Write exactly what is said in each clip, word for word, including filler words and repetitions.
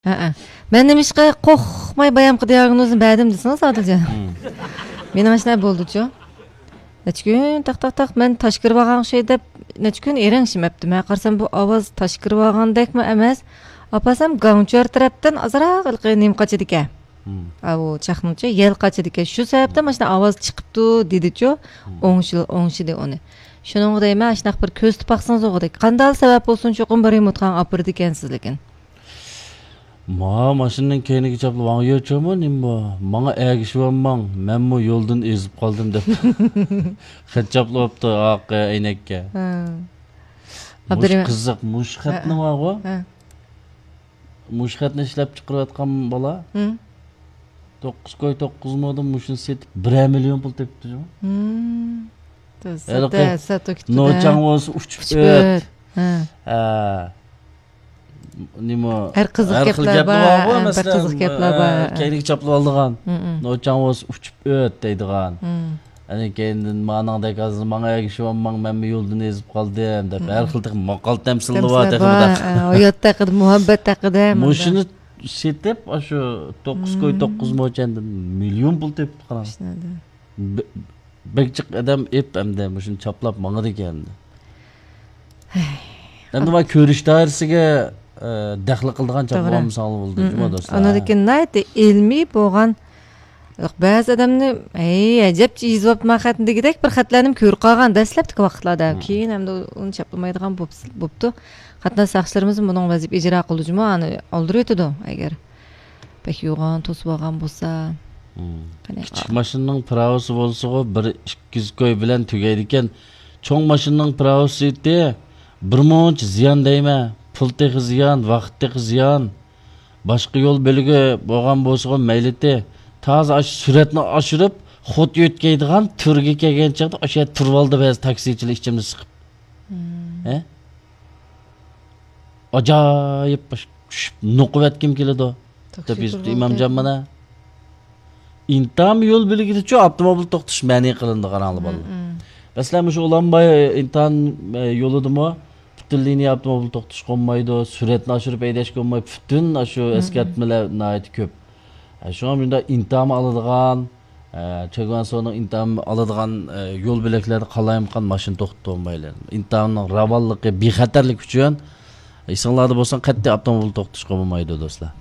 ھەئە. مەن نېمىشقا قورقماي بايامقى دىياگنوزنى بەردىم دېسىڭىز، ئادىلجان. مېنىڭ ئاشۇنداق بولدىچۇ. نەچچە كۈن تاق، تاق، تاق، مەن تاش كىرىۋالغان ئوخشايدۇ دەپ، نەچچە كۈن ئېرىڭ ئىچمەپتىمەن. قارىسام، بۇ ئاۋاز تاش كىرىۋالغاندەكمۇ ئەمەس. ئاپارسام، گاڭچۈەر تەرەپتىن ئازراق ھېلىقى نېمە قاچىدىكەن. ئاۋۇ چاقنىڭچە يەل قاچىدىكەن. شۇ سەۋەبتىن مانا شۇنداق ئاۋاز چىقىپتۇ دېدىچۇ. ئوڭشىل-، ئوڭشىدى ئۇنى. شۇنىڭغا دەيمەن، ئاشۇنداق بىر كۆزىتىپ باقسىڭىز ئوغۇدەك. قانداق سەۋەب بولسۇن، چوقۇم بىر رېمونتخانىغا ئاپىرىدىكەنسىز لېكىن. ما ماشىنىنىڭ كەينىگە چاپلىۋالغان يوچۇمۇ نېمە بۇ؟ ماڭا ئەگىشىۋالماڭ، مەنمۇ يولدىن ئېزىپ قالدىم دەپ. خەت چاپلىۋاپتۇ ئارقا ئەينەككە. ھە. مۇشۇ ئابدۇرېھىم. قىزىق، مۇشۇ خەتنى ھە، ھە. بارغۇ. ھە. مۇشۇ خەتنى ئىشلەپ چىقىرىۋاتقان بالا. ھە. توققۇز كوي توققۇز مودىن مۇشۇنى سېتىپ، بىرەر مىليون پۇل تېپىپتۇ جۇمۇ. ھە. ھېلىقى ساتو كېتىپتۇ، نوچاڭ ھە. بولسا ئۇچۇپ ئۆت. ھە. ھە. نېمە، ھەر قىزىق ھەر خىل گەپلەر گەپلەر بار، بار، ھە، بىر مەسىلەن، قىزىق گەپلەر ئە، بار. كەينىگە چاپلىۋالىدىغان. مم، مم. نوچاڭ بولسا ئۇچۇپ ئۆت دەيدىغان. مم. ئەنە كەينىدىن مانىڭدەك ھازىر ماڭا ئەگىشىۋالماڭ، مەنمۇ يولدىن ئېزىپ قالدىم دەپ، مم. ھەر خىل تېخى ماقال تەمسىللىرى بار تەمسىللەر تېخى بار، بۇنداق. ھە، ھايات ھەققىدە، مۇھەببەت ھەققىدە مۇنداق. مۇشۇنى سېتىپ، ئاشۇ توققۇز كوي مم. توققۇز موچەندىن مىليون پۇل تېپىپتۇ، قاراڭ. ئىشنى. بە-، بەك جىق ئادەم ئېپ ئەمدى مۇشۇنى چاپلاپ ماڭىدىكەن. ھەي. ئەمدى مانا كۆرۈش دائىرىسىگە، ئە، دەخلى قىلىدىغان چاپلىق توغرا. بولمىساڭلار بولىدۇ، مم، جۇمۇ مم. دوستلار. ئانىڭدىن كېيىن ناھايىتى ئىلمىي بولغان، بەزى ئادەمنى، ھەي، ئەجەبچە يېزىۋاپتىمەن خەتنى دېگۈدەك بىر خەتلەرنىمۇ كۆرۈپ قالغان دەسلەپتىكى ۋاقىتلاردا. مم. كېيىن ئەمدى ئۇنى چاپلىمايدىغان بوپس-، بوپتۇ. قاتناش ساقچىلىرىمىزمۇ بۇنىڭغا ۋەزىپە ئىجرا قىلىدۇ جۇمۇ، ئانى ئالدۇرۇۋېتىدۇ ئەگەر. بەك يوغان توسۇۋالغان بولسا. مم. قېنى، كىچىك ئا- ماشىنىنىڭ پىراۋىسى بولسىغۇ بىر ئىككى يۈز كوي بىلەن تۈگەيدىكەن. چوڭ ماشىنىنىڭ پىراۋىسى بىر مۇنچە زىيان دەيمەن. پۇل تېخى زىيان، ۋاقىت تېخى زىيان. باشقا يول بۆلىكى بولغان بولسىغۇ مەيلىتى. تازا ئاشۇ سۈرئەتنى ئاشۇرۇپ، خۇد يۆتكەيدىغان تۈرگە كەلگەن چاغدا ئاشۇ يەردە تۇرۇۋالدى بەزى تاكسىچىلار ئىچىمنى سىقىپ. مم. ھە؟ ئاجايىپ بىر چۈشۈپ نوقۇۋەتكۈم كېلىدۇ، دەپ يېزىپتۇ ئىمامجان مانا. ئىنتام يول بۆلىكىدىچۇ ئاپتوموبىل توختىتىش مەنئى قىلىنىدىغان ھالى بالىلار. مەسىلەن، مۇشۇ ئۇلانباي ئىنتام، ئە، يولىدىمۇ پۈتۈن لىنىيە ئاپتوموبىل توختىتىشقا بولمايدۇ، سۈرئەتنى ئاشۇرۇپ ھەيدەشكە بولمايدۇ، پۈتۈن ئاشۇ ئەسكەرتمىلەر ناھايىتى كۆپ. ئە، شۇڭا مۇنداق ئىنتام ئالىدىغان، ئە، چېگۋانسونىڭ ئىنتام ئالىدىغان، ئە، يول بۆلەكلەردە قالايمىقان ماشىنا توختىتىپ بولمايلى. ئىنتامنىڭ راۋانلىقى، بىخەتەرلىكى ئۈچۈن ئېسىڭلاردا بولسۇن، قەتئىي ئاپتوموبىل توختىتىشقا بولمايدۇ، دوستلار.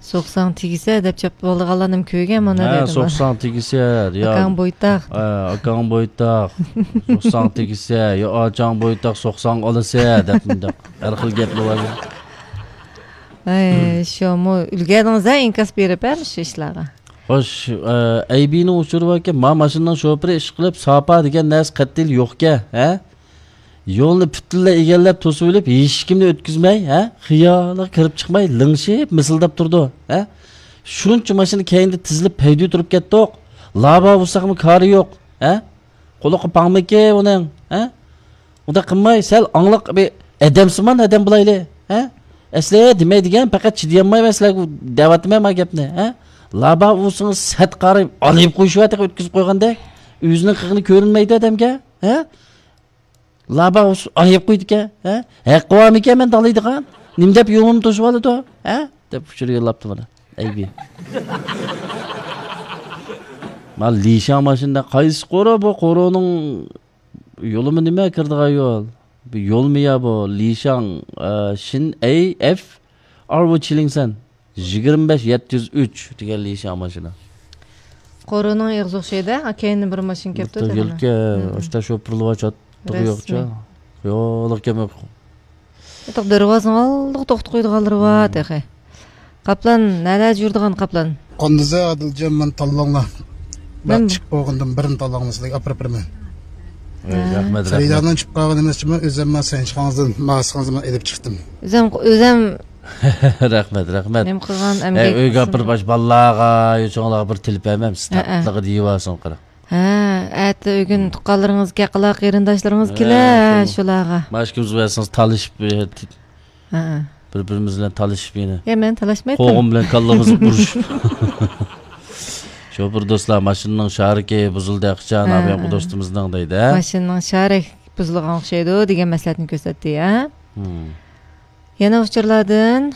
سوقساڭ تېگىسە دەپ چاپلىۋالىدىغانلارنىمۇ كۆرگەن مانا ھە، دەيدۇ. سوقساڭ تېگىسە، يا ئاكاڭ بويتاق. ھە، ئاكاڭ بويتاق. سوقساڭ تېگىسە، يا ئاچاڭ بويتاق، سوقساڭ ئالىسە دەپ مۇنداق ھەر خىل گەپلەر بار. ئەي، شۇمۇ ئۈلگەردىڭىز ھە ئىنكاس بېرىپ ھە مۇشۇ ئىشلارغا. خوش، ئە، ئەيبىنىڭ ئۇچۇرى باركەن، ما ماشىنىنىڭ شوپۇرى ئىشقىلىپ ساپا دېگەن نەرسە قەتئىي يوقكەن، ھە؟ يولنى پۈتۈنلەي ئىگىلەپ توسۇۋېلىپ، ھېچكىمنى ئۆتكۈزمەي، ھە؟ خىيالىغا كىرىپ چىقماي، لىڭشىپ مىسىلداپ تۇرىدۇ، ھە؟ شۇنچە ماشىنا كەينىدە تىزىلىپ پەيدە تۇرۇپ كەتتۇق. لابا بولساقمۇ كارى يوق، ھە؟ قۇلىقى پاڭمىكى ئۇنىڭ، ھە؟ ئۇنداق قىلماي، سەل ئاڭلىق بىر ئادەمسىمان ئادەم بولايلى، ھە؟ ئەسلى دېمەيدىكەن، پەقەت چىدىيالمايمەن سىلەرگە دەۋاتىمەن ما گەپنى، ھە؟ لابا بولسىڭىز سەت قارىيىپ ئالىيىپ قويۇشۇۋاتىغان ئۆتكۈزۈپ قويغاندەك، ئۆزىنىڭ قىلغىنى كۆرۈنمەيدۇ ئادەمگە، ھە؟ لابا ئۇس-، ئايىپ قويدىكەن، ھە؟ ھەققى بارمىكەن مەن دالايدىغان؟ نېمە دەپ يولۇمنى توسۇۋالىدۇ، ھە؟ دەپ ئۇچۇر يوللاپتۇ مانا. ئەيبى. مانا لىشاڭ ماشىنا قايسى قورۇ بۇ؟ قورۇنىڭ يولىمۇ نېمە كىرىدىغان يول؟ بۇ يولمۇ يا بۇ؟ لىشاڭ، ئە، شىن ئەي ئەف ئار ۋۇ چىلىڭسەن. يىگىرمە بەش يەتتە يۈز ئۈچ دېگەن لىشاڭ ماشىنا. قورۇنىڭ ئېغىزى ئوخشايدۇ، ھە؟ كەينىدىن بىر ماشىنا كەپتۇ دېگەن. يولكە، ئاشتا شوپۇرلار چاتىقى يوقچە. يوللۇق كەم يوق. ئېتىق دەرۋازىنىڭ ئالدىغا توختىتىپ قويىدىغانلىرى بار تېخى. قاپلان، نەلەردە يۈرىدىغان قاپلان؟ قاندىزە ئادىلجان، مەن تاللاڭلار. مەن چىقىپ بولغاندىن بىرنى تاللاڭلار سىلەرگە ئاپىرىپ بېرىمەن. ھە. رەھمەت، رەھمەت. خېرىدارنىڭ چىقىپ قالغىنى ئەمەس، ئۆزۈم مانا سەنچىخىڭىزدىن ماسىڭىزنى ئېلىپ چىقتىم. ئۆزۈم، ئۆزۈم رەھمەت، رەھمەت. نېمە قىلغان ئەمگەك ئۆيگە ئاپىرىپ، ئاش بالىلارغا، يوچۇڭلارغا بىر تىلىپ بەرمەمسىز؟ ھەئە. تاتلىقى دېيىۋالسۇن، قارا. ھە، ئەتە ئۆگۈن تۇغقانلىرىڭىز كەقىلا، قېرىنداشلىرىڭىز كېلە، شۇلارغا. مانا ئىككىمىز بەرسىڭىز تالىشىپ، ھەئە. بىر-بىرىمىز بىلەن تالىشىپ يەنە. يا، مەن تالاشمايتتىم. قوغۇن بىلەن كاللىمىزنى ئۇرۇشۇپ. شوپۇر دوستلار، ماشىنىنىڭ شارىكى بۇزۇلدى، ئاخشام ئابىيامقۇ دوستىمىزنىڭ دەيدۇ. ماشىنىنىڭ شارىكى بۇزۇلغان ئوخشايدۇ دېگەن مەسلىھەتنى كۆرسەتتى، ھە؟ يەنە ئۇچۇرلاردىن،